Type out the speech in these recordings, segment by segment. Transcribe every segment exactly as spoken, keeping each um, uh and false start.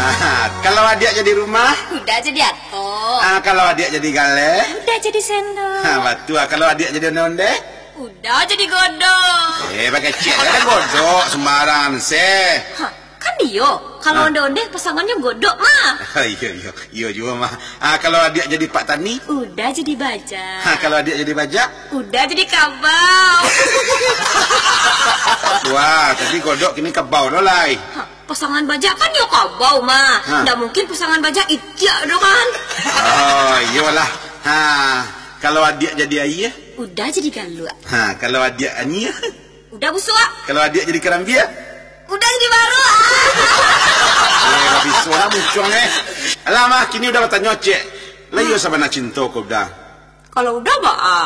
Ha, kalau adiak jadi rumah? Uda jadi atok. Ha, kalau adiak jadi galeh? Uda jadi sendok. Ha, batua. Kalau adiak jadi onde-onde? Uda jadi godok. Eh, bakecek lah godok, sembarangan se. Ha, kan iyo, kalau Ha? onde-onde pasangannyo godok mah. Iyo, iyo. Iyo juo mah. Ha, kalau adiak jadi pak tani? Uda jadi bajak. Ha, kalau adiak jadi bajak? Uda jadi kabau. Wah, tadi godok, kini kabau lo lai. Ha, pasangan bajak kan yo kabau mah. Ha. Ndak mungkin pasangan bajak itiak doh kan. Oh, iyolah. Ha, kalau adiak jadi aia? Uda jadi galuak. Ha, kalau adiak anyia? Uda busuak. Kalau adiak jadi karambia? Uda jadi baruak. Eh, lah biso lah muncuang, eh. Alah, mah, kini Uda batanyo, cek. Lah iyo sabana cinto ko Uda? Kalau Uda baa?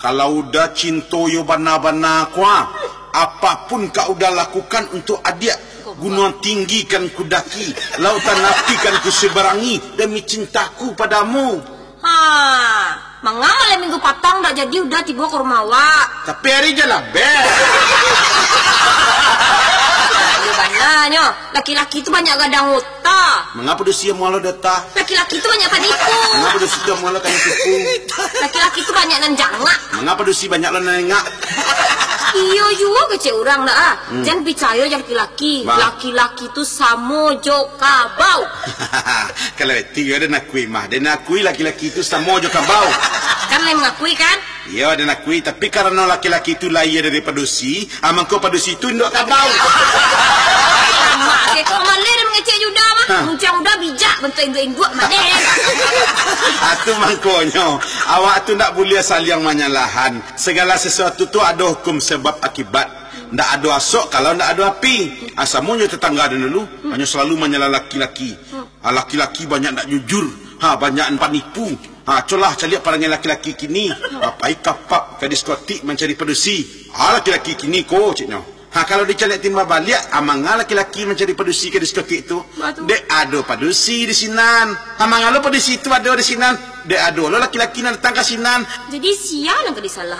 Kalau Uda cinto yo bana-bana ko, ah. Apapun ka Uda lakukan untuak adiak. Gunung tinggi kan kudaki, lautan api kan kuseberangi, demi cintaku padamu. Ha, manga malam minggu patang dak jadi Uda tibo ka rumah awak? Tapi ari jan labek. Iyo bananyo, laki-laki tu banyak gadang ota. Manga padusi amuah lo dota? Laki-laki tu banyak panipu. Manga padusi tu amuah lo kami tipu? Laki-laki tu banyak nan jangak. Manga padusi banyak lo nan engak? Iyo juo kecek urang dak ah. Hmm. Jan picayo jo laki-laki. Bah. Laki-laki tu samo jo kabau. Kalau itu yo den akui mah. Den akui laki-laki tu samo jo kabau. Kan lai mangakui kan? Iyo, den akui, tapi karano laki-laki tu lahia dari padusi, ah, mangko padusi tu induak kabau. Mak, kok maleh den mangecek jo Uda mah. Ha. Muncuang Uda bijak bantuak induak-induak maleh. Atu mangkonyo, awak tu ndak buliah saliang manyalahan. Sagalo sasuatu tu ado hukum sabab akibat. Ndak ado asok kalau ndak ado api. Ah, samo jo tatangga den dulu, hanyo salalu manyalah laki-laki. Ah, laki-laki banyak ndak jujur. Ha, banyak panipu. Ha, colah caliak parangai laki-laki kini. Ha, pai ka pub, ka diskotik mancari padusi. Ha, laki-laki kini ko, ceknyo. Ha, kalau dicaliak timbal baliak, ah, manga laki-laki mancari padusi ka diskotik tu? Batua. Dek ado padusi di sinan. Ha, manga lo padusi tu ado di sinan? Dek ado lo laki-laki nan datang ka sinan. Jadi, sia nan ka disalahan?